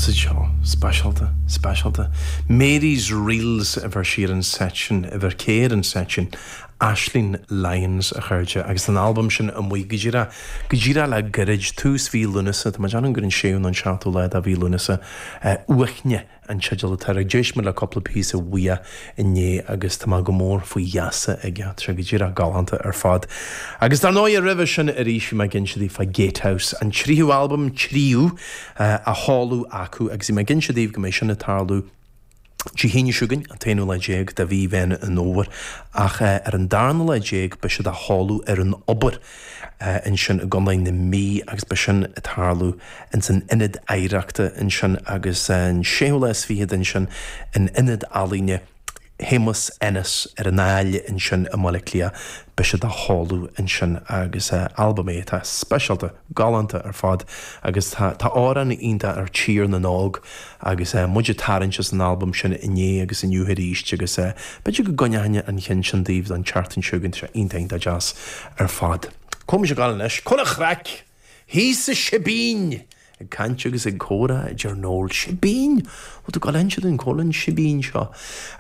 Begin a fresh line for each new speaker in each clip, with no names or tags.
Thosaigh seo speisialta, speisialta. Mary's Reels a bheir sí ar an seit sin, a bheir Kay ar an seit sin, Aisling Lyons, a chairde, agus an albam sin amuigh go díreach, go díreach le gairid, tús mhí Lúnasa, tá mé ag déanamh gur an séú nó an seachtú lá de mhí Lúnasa, Uaithne. an teideal atá air. D'éist mé le cúpla píosa uaidh inné agus tá mé go mór faoi gheasa aige. Tá sé go díreach galánta ar fad. Agus dar ndóigh roimhe sin arís bhí mé ag inse daoibh fá Gatehouse, an tríú albam, tríú, á sheoladh acu agus bhí mé ag inse daoibh go mbeidh sin ag tarlú Dé hAoine seo chugainn, an t-aonú lá déag de mhí Mheán an Fhómhair, ach ar an darna lá déag beidh siad á sheoladh ar an Obair ansin i gContae na Mí agus beidh sin ag tarlú ins an Ionad Oidhreachta ansin agus an séú lá is fichead ansin in Ionad Ealaíne Shéamus Ennis ar an Aill ansin i mBaile Átha Cliath. Beidh siad á sheoladh ansin agus albam é atá speisialta, galánta ar fad agus tá tá amhrán iontach ar Tír na nÓg agus muid ag tarraingt as an albam sin inné agus inniu arís agus b'fhéidir go gcoinneochainn an cheann sin daoibh don tseachtain seo chugainn, tá sé iontach iontach deas ar fad. Cá bhfuil mise ag gabháil anois? Cá bhfuil an chraic? Thíos sa Sibín! Ag caint agus ag comhrá, a deir Noel. Sibín! Bhfuil tú ag gabháil a inse dúinn cá bhfuil an Sibín seo?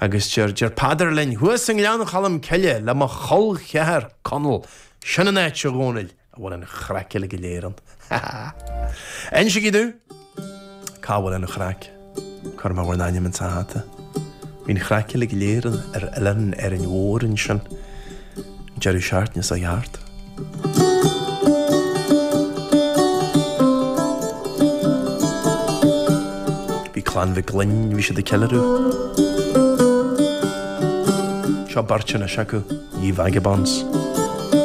Agus deir, deir Peadar linn, Thuas i nGleann Cholm Cille le mo chol cheathar, Conall. Sin an áit, a Dhónaill, a bhfuil an chraic uile go léir ann. Ha ha! Insigí domh! Cá bhfuil an chraic? Cuirfidh mé bhur n-ainm insa hata. Bhí an chraic uilig go léir ar oileán Árainn Mhór ansin an deireadh seachtaine seo thart. Bhí Clann Mhic Gloinn, bhí siad ag ceiliúradh. Seo beirt anois acu, Ye Vagabonds.